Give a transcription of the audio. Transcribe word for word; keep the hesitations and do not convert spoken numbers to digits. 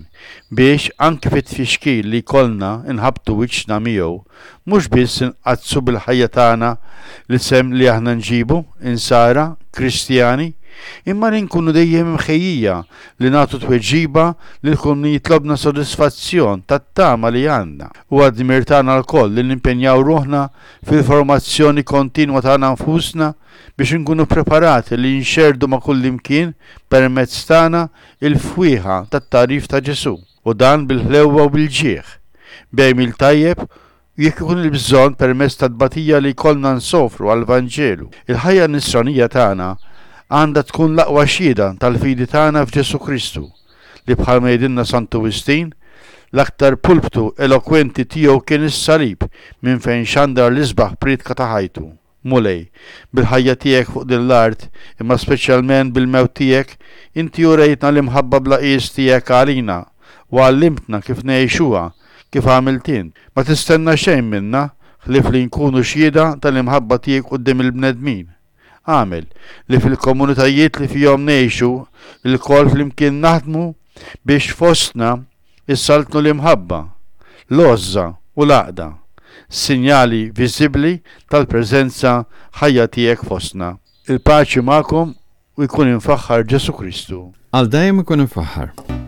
Qaddisin, biex anki fit-tfixkil li jkollna nħabbtu wiċċna miegħu, mhux biss inqaddsu bil-ħajja tagħna l-isem li aħna nġibu, Insara, Kristjani, imma li nkunu dejjem imħejjija li nagħtu tweġiba lil kull min jitlobna sodisfazzjon tat-tama li għandna. Huwa dmir tagħna lkoll li nimpenjaw ruħna fil-formazzjoni kontinwa tagħna nfusna biex inkunu preparati li nxerrdu ma' kullimkien permezz tagħna il-fwieħa tat-tagħrif ta' Ġesù, u dan bil-ħlewwa u bil-ġieħ, b'għemil tajjeb u jekk ikun il-bżonn permezz tat-tbatija li jkollna nsofru għall-Vanġelu. Il-ħajja nisranija tagħna għandha tkun l-aqwa xhieda tal-fidi tagħna f'Ġesù Kristu, li bħalma jgħidilna Santu Wistin, l-aktar pulptu elokwenti tiegħu kien is-salib minn fejn xandar l-isbaħ prietka ta' ħajtu. Mulej, bil-ħajja tiegħek fuq din l-art, imma speċjalment bil-mewt tiegħek, inti urejtna l-imħabba bla qies tiegħek għalina u għallimtna kif ngħixuha kif għamilt int. Ma tistenna xejn minna ħlief li nkunu xhieda tal-imħabba tiegħek quddiem il-bnedmin. Agħmel li fil-komunitajiet li fihom ngħixu lkoll flimkien naħdmu biex fostna issaltnu l-imħabba, l-għożża u l-għaqda, sinjali viżibbli tal-preżenza ħajja tiegħek fostna. Il-paċi magħkom u jkun imfaħħar Ġesù Kristu. Għal dejjem ikun imfaħħar.